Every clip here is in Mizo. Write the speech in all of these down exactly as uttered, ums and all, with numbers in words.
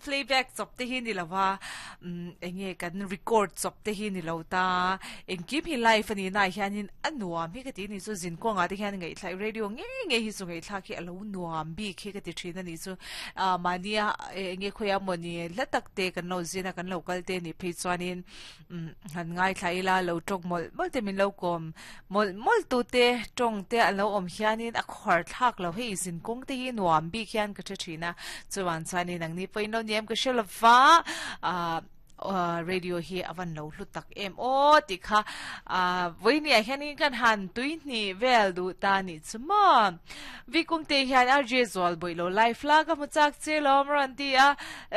playback chawp te hi ni lova um enge kan record chawp te hi ni lo ta engkim hi live ani na hianin a nuam hi ka ti ni chu zin kawnga te hian ngai thlai radio nge nge hi chu ngai thlak hi alo nuam bi khi ka ti thin ani chu a mania enge khoya moni latak te kan lo zina kan lo kal te ni phei chuanin um han ngai thlai la lo tok mol mol te min lo kom mol mol tu te tong te alo om hianin a khor thlak lo hei zin kong te hi nuam bi khian ka thina chuan chuanin ang ni poin lo niam ka shelwa a radio hi avan lo hlu tak em o ti kha a voini a hianin kan han tui ni vel du ta ni chuma vi kung te hian R J zol boi lo live la ka mu chak che lom ran ti a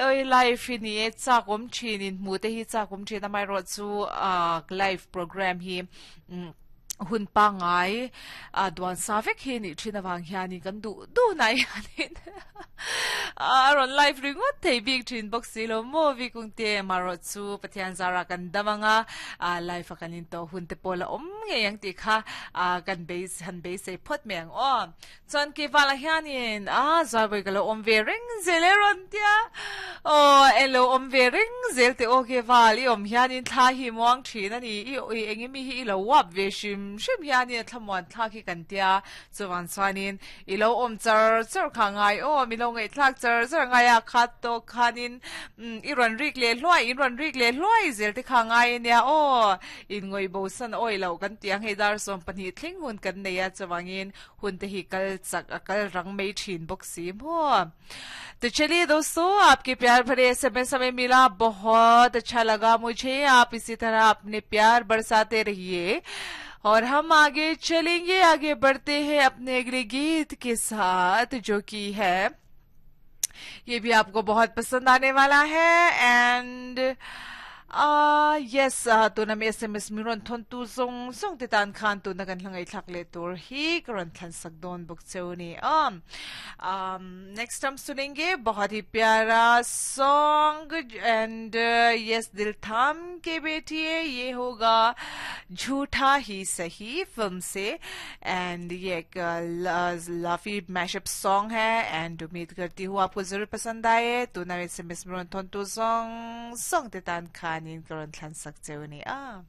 oi live ni e chak om thin in mu te hi chak om thin amai ro chu a live program hi hun pa ngai a duan sa vek hi ni thin awang hianin kan du du nai hanin a ron live ringot thei bik thin box si lo mo vi kung te maro chu Pathian zara kan damanga a live a kanin to hun te pola om nge yang ti kha a kan base han base se phot meng o chuan ke wala hianin a zawai ka lo om ve ring zel e ron tia o elo om ve ring zel te o ke wal i om hianin thla hi muang thin ani i i engi mi hi i lo wap ve shim shim hianin thlamuan thla khi kan tia chuan chuanin i lo om char char kha ngai o mi lo ngai thlak char char ngai a khat to khanin i ron rik le hluai in ron rik le hluai zel te kha ngai nia o in ngoi bo san oi lo kan tiang hei dar som pahnih thleng hun kan nei a chuangin hun te hi kal chak a kal rang mai thin bawk si mo. तो चलिए दोस्तों, आपके प्यार भरे S M S हमें मिला, बहुत अच्छा लगा मुझे। आप इसी तरह अपने प्यार बरसाते रहिए और हम आगे चलेंगे, आगे बढ़ते हैं अपने अगले गीत के साथ, जो कि है, ये भी आपको बहुत पसंद आने वाला है। And yes, tuna mi S M S mi ron thon tu zong zong te tan khan tu na kan hlangai thlak le tur hi karon thlan sak don bok cheu ni. um um next हम सुनेंगे बहुत ही प्यारा song and yes, दिल थाम के बैठिए। ये होगा झूठा ही सही फिल्म से एंड ये एक लाफी मैशअप सॉन्ग है एंड उम्मीद करती हूँ आपको जरूर पसंद आए। तो ना S M S mi ron thon tu zong zong te tan khan in karon thlan sak cheu ni a.